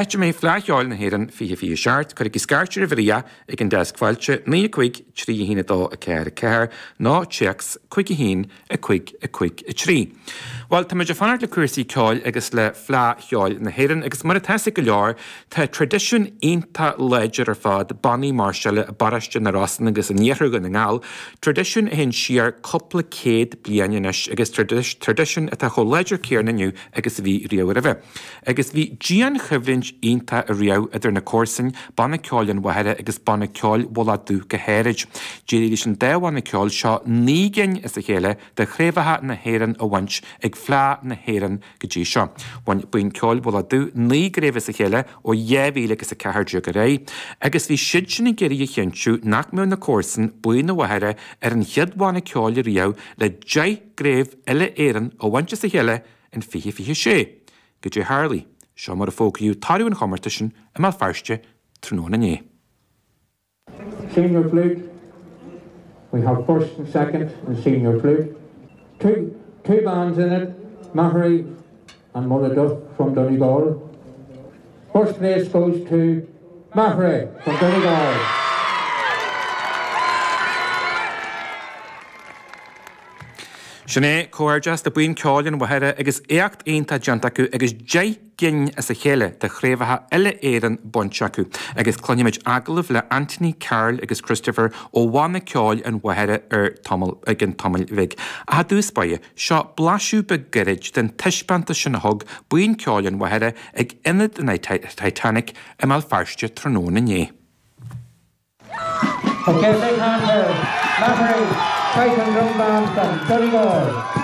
Áit a mbeidh Fleadh Cheoil na hÉireann 2027, cuirigí scairt ar Mharia ag an deasc fáilte, 9 5 3 1 2 4 4 nó téacs 5 1 5 5 3. Bhuel, táimid ag fanacht le cúrsaí ceoil agus le Fleadh Cheoil na hÉireann agus mar atá 'fhios ag go leor, tá traidisiún iontach láidir ar fad bannaí máirseála i bparóiste na Rosann agus in iarthar Dhún na nGall, traidisiún a théann siar cúpla céad bliain anois agus traidisiún atá chomh láidir céanna inniu agus a bhí riamh roimhe. Agus bhí dianchoimhlint iontach ariamh idir na comharsain, Banna Ceoil an Mhachaire agus Banna Ceoil Mhullach Dubh go háirid. D'éirigh leis an dá bhanna ceoil seo 9 gcinn as a chéile de chraobhacha na hÉireann a bhaint ag Fleadh na hÉireann go dtí seo. Bhain Buíon Ceoil Mhullach Dubh 9 gcraobh as a chéile ó 2014 ar aghaidh agus bhí siadsan ag iarraidh a chinntiú nach mbeadh na comharsain, Buíon an Mhachaire, ar an chéad bhanna ceoil ariamh le 10 gcraobh uile-Éireann a bhaint as a chéile in 2026. Goidé tharlaigh? Seo mar a fógraíodh toradh an chomórtais sin i mBéal Feirste tráthnóna inné. Senior Flute, we have first and second in Senior Flute. 2 2 bands in it, Maghery and Mullaghduff from Donegal. First place goes to Maghery from Donegal. Sin é, comhghairdeas le Buíon Ceoil an Mhachaire agus éacht iontach déanta acu agus 10 gcinn as a chéile de chraobhacha uile-Éireann bainte acu. Agus cluinfimid agallamh le Anthony, Karl agus Christopher ó Bhanna Ceoil an Mhachaire ar tamall i gcionn tamaill bhig. Ach i dtús báire, seo blaiseadh beag gairid den taispeántas sin a thug Buíon Ceoil an Mhachaire ag Ionad an Titanic i mBéal Feirste tráthnóna inné. Okay, big hand for Maghery Triton Drum Band from Donegal.